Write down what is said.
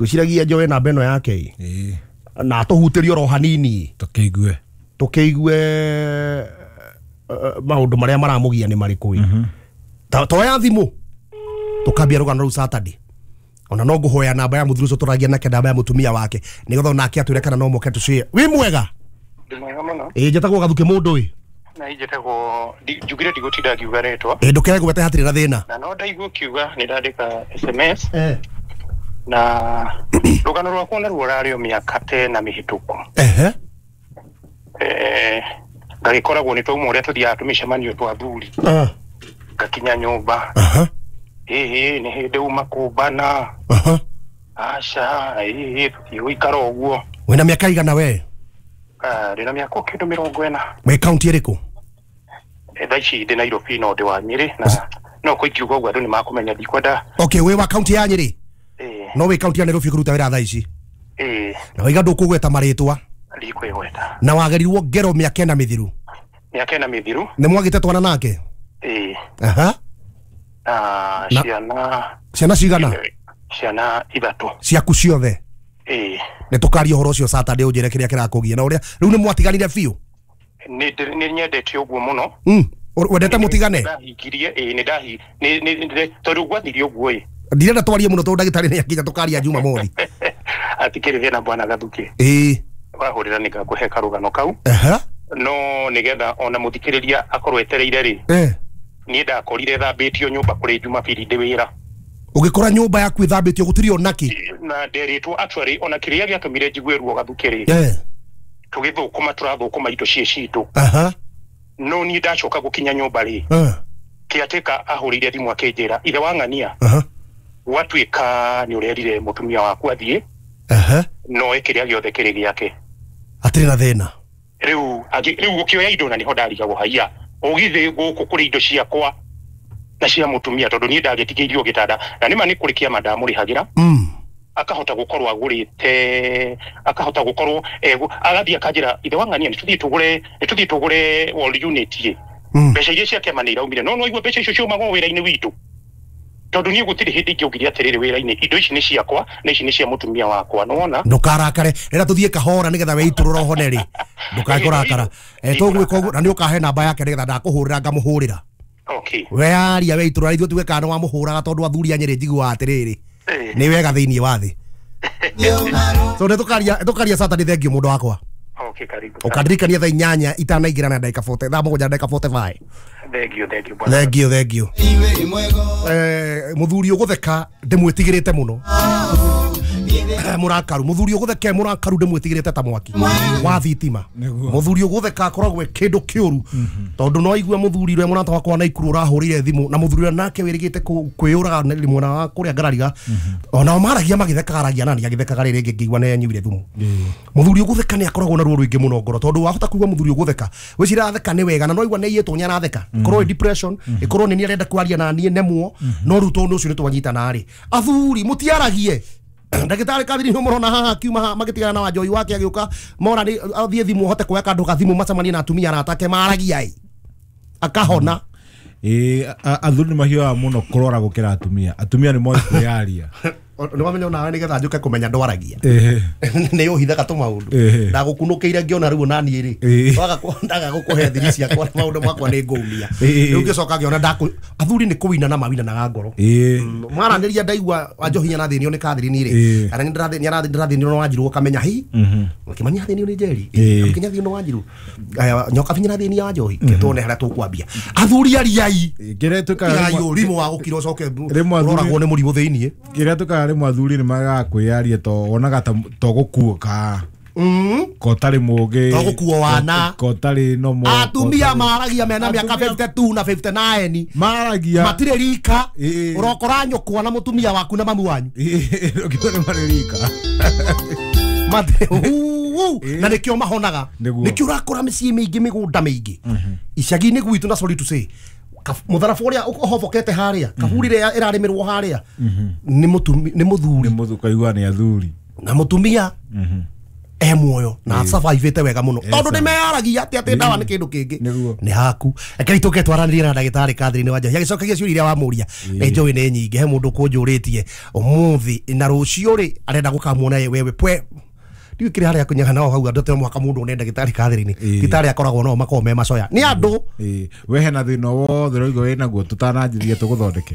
Gwĩciragia njoe namba ĩno yake ĩ. Ĩĩ. Na atũhutĩrie oro hanini. Tũkĩigue. Tũkĩigue maũndũ marĩa maramũgia nĩ marĩkũ ĩ. Toya thimũ tũkambia rũgano rũu Saturday. Ona no ngũhoya namba ya mũthuri ũcio tũragia nake, namba ya mũtumia wake, nĩgetha onake atwĩre kana no moke tũcie. Wĩ mwega? Ndĩ mwega mũno. Ĩ, njĩtagwo Gathuke mũndũ ĩ. Na njĩtagwo njugire ndigũtinda ngiuga rĩtwa. Ĩ, ndũkegwete, hatirĩ na thĩna. Na no ndaigua ũkiuga nĩ ndandĩka SMS na rũgano rwakwa naruo rarĩ o mĩaka ta ĩna mĩhĩtũku. Ngagĩkoragwo nĩ twauma ũrĩa tũthiaga tũmĩcemanio twa athuri. Ngakinya nyũmba. Ĩhĩ, nĩ hĩndĩ uma kũmbana. Aca, ĩhĩ, tũtigũikara ũguo. Wĩna mĩaka igana we? Ndĩna mĩaka o kĩndũ 40. Wĩ kaunti ĩrĩkũ? Thaa ici ndĩ Nairobi no ndĩ wa Nyĩrĩ na no kũ ingiuga ũguo andũ nĩ makũmenya ndikwenda. Okay, wĩ wa kaunti ya Nyĩrĩ? Ĩĩ. No wĩ kaunti ya Nairobi kũruta wĩra thaa ici? Ĩĩ. Na waiga ndũkũgweta marĩtwa? Ndikwĩgweta. Na wagerirwo ngero mĩaka ĩna mĩthiru? Mĩaka ĩna mĩthiru. Nĩ mwagĩte twana nake? Ĩĩ. Aha. Na ciana. Ciana cigana? Ciana 3. Ciaku ciothe? Ĩĩ. Nĩ tũkaria ũhoro ũcio Saturday, ũnjĩre kĩrĩa kĩrakũgia na ũrĩa rĩu nĩ mwatiganire biũ. Nĩ nyendete ũguo mũno. Wendete mũtigane? Ndahingirie, ĩĩ, nĩ ndahi nĩ nĩ tondũ gwathire ũguo ĩ. Ndirenda twarie mũno tondũ ndagĩtarĩ nĩ akinya, tũkaria Jumamothi. Atikĩrĩ thĩna bwana Gathuke. Ĩĩ. Wahũrĩra nĩ ngakũhe karũgano kau. Aha. No nĩgetha ona mũthikĩrĩria akorwo etereire rĩ. Niĩ ndakorire thambĩtio nyũmba kũrĩ Jumapili ndĩ wĩra. Ũgĩkora nyũmba yaku ĩthambĩtio gũtirĩ ona kĩ? Na nderĩtwo actually ona kĩrĩa gĩatũmire njigue ruo Gathuke rĩ. Tũgĩthũkũma tũrathũkũma indo ciĩ citũ. No niĩ ndacoka gũkinya nyũmba rĩ. Kĩatĩka ahũrĩire thimũ akĩnjĩra ithe wa ng'ania. Gwatuĩka nĩ ũrerire mũtumia waku athiĩ. No kĩrĩa gĩothe kĩrĩ gĩake. Hatirĩ na thĩna. Rĩu rĩu ũkĩoya indo na nĩho ndarigagwo haiya. Ũgithĩ gũkũ kũrĩ indo ciakwa na cia mũtumia tondũ niĩ ndagĩtigĩirio gĩtanda na nĩma nĩ kũrĩ kĩama ndamũrĩhagĩra. Akahota gũkorwo agũrĩte, akahota gũkorwo agathiĩ akanjĩra ithe wa ng'ania nĩ tũthiĩ tũgũre wall unit ĩ. Mbeca iria cia kĩama nĩ iraumire no no igua mbeca icio ciumaga o wĩra-inĩ witũ. Tondũ niĩ gũtirĩ hĩndĩ ingĩaugire atĩrĩrĩ wĩra-inĩ indo ici nĩ ciakwa na ici nĩ cia mũtumia wakwa, nĩwona? Ndũkarakare, rĩrĩa tũthiĩ kahora nĩgetha weitũrũra ũhone rĩ. Ndũkae kũrakara. Tũgwĩka ũguo na nĩ ũkahe namba yake nĩgetha ndakũhũrĩra ngamũhũrĩra. Okay. We aria weitũrũra ithuĩ tuge kana nĩwamũhũraga tondũ athuri a Nyĩrĩ njiguaga atĩrĩrĩ. Nĩ wega thĩinĩ wa thĩ. So nĩ tũkaria Saturday, thank you mũndũ wakwa. Okay, karibu. Ũkandirikania thaa 8 itanaingĩra na ndagĩka 40, thaa 7 ndagĩka 45. Thank you, thank you bwana. Thank you, thank you. Mũthuri ũgũtheka ndĩmwĩtigĩrĩte mũno. Mũrakaru, mũthuri ũgũtheka mũrakaru ndĩmwĩtigĩrĩte ta mwaki wa thitima. Mũthuri ũgũtheka akoragwo e kĩndũ kĩũru tondũ no aigue mũthuri ũrĩa mũrata wakwa na Ikuru ũrahũrĩire thimũ na mũthuri ũrĩa nake wĩrĩgĩte kwĩyũraga mwena wa kũrĩa ngarariga onao maragia magĩthekaga, aragia nani agĩthekaga rĩrĩ rĩngĩ ngĩigua nĩ anyuire thumu. Mũthuri ũgũtheka nĩ akoragwo na ruo rũingĩ mũno ngoro tondũ wahota kũigua mũthuri ũgũtheka wĩcira atheka nĩ wega na no aigua nĩ aiyĩtwo nĩ aratheka, ĩkorwo ĩ depression, ĩkorwo nĩ arenda kwaria na niĩ nemwo, no rĩu tondũ ũcio nĩ twanyitana rĩ, athuri mũtiaragie. Ndagĩtarĩ Kathiri nĩ mũrona haha akiuma haha magĩtigana na Wanjohi wake agĩũka mora nĩ athiĩ thimũ ahote kuoya kandũ ga thimũ macemanie na atumia arata ake maragia ĩ akahona. Ĩĩ, athuri nĩ mahiũhaga mũno kũrora gũkĩra atumia. Atumia nĩ moĩ kwĩyaria. Nĩ wamenya onawe nĩgetha njũke kũmenya ndwaragia. Nĩ ũhithaga tũmaũndũ. Ndagũkunũkĩire ngĩona rĩu ona niĩ rĩ. Ndaga gũkũhe thiri ciakwa na maũndũ makwa nĩ ngũumia. Rĩu ngĩcoka ngĩona athuri nĩ kũinana mawinanaga ngoro. Mwaranĩria ndaigua Wanjohi nĩarathĩnio nĩ Catherine rĩ. Kana nĩndĩrathĩnio nĩ Wanjirũ ũkamenya hi. Kĩmani athĩnio nĩ Njeri. Kĩnya athĩnio nĩ Wanjirũ. Nyoka binya athĩnio Wanjohi. Tuone harĩa tũkwambia. Athuri ariai. Kĩrĩa twĩkaga Tigai ũrimũ wa gũkira ũcoke ũroragwo nĩ mũrimũ thĩiniĩ. Kĩrĩa twĩkaga rĩmwe athuri nĩ magaga kwĩyaria to wonaga to gũkuoka. Ko ũtarĩ mũũgĩ. To gũkuo wana. Ko ũtarĩ nomo. Atumia maragia mena mĩaka 52 na 59. Maragia. Matirĩ rika. Ũrokora nyũkwa na mũtumia waku na mamu wanyu. Ũkĩona nĩ marĩ rika. Na nĩkĩo mahonaga. Nĩkĩo ũrakora mĩciĩ mĩingĩ mĩgũnda mĩingĩ. Icagi-inĩ gwitũ na sorry to say. Mũtharabu ũrĩa ũhobokete harĩa kaburi ĩrĩa ĩrarĩmĩrwo harĩa nĩ mũthuri. Nĩ mũthuri, kaigua nĩ athuri. Na mũtumia E muoyo na survivĩte wega mũno tondũ nĩ meyaragia atĩ atĩ ndawa nĩ kĩndũ kĩngĩ. Nĩguo. Nĩ haku rekei tũke twaranĩrie na ndagĩtarĩ Catherine Wanjohi agĩcokagia ciũria iria wamũria. Nĩ njũĩ nĩ nyingĩ, he mũndũ kũnjũrĩtie ũmũthĩ na rũciũ rĩ arenda gũkamuona wewe pwe ndiũĩ kĩrĩa harĩa kũnyaga nao hau andũ atĩ no mũhaka mũndũ one ndagĩtarĩ Catherine. Thibitarĩ akoragwo nao makoragwo me macoya nĩ andũ. Ĩĩ. We hena thĩna wothe ũraigua wĩ naguo tũtananjĩria tũgũthondeke.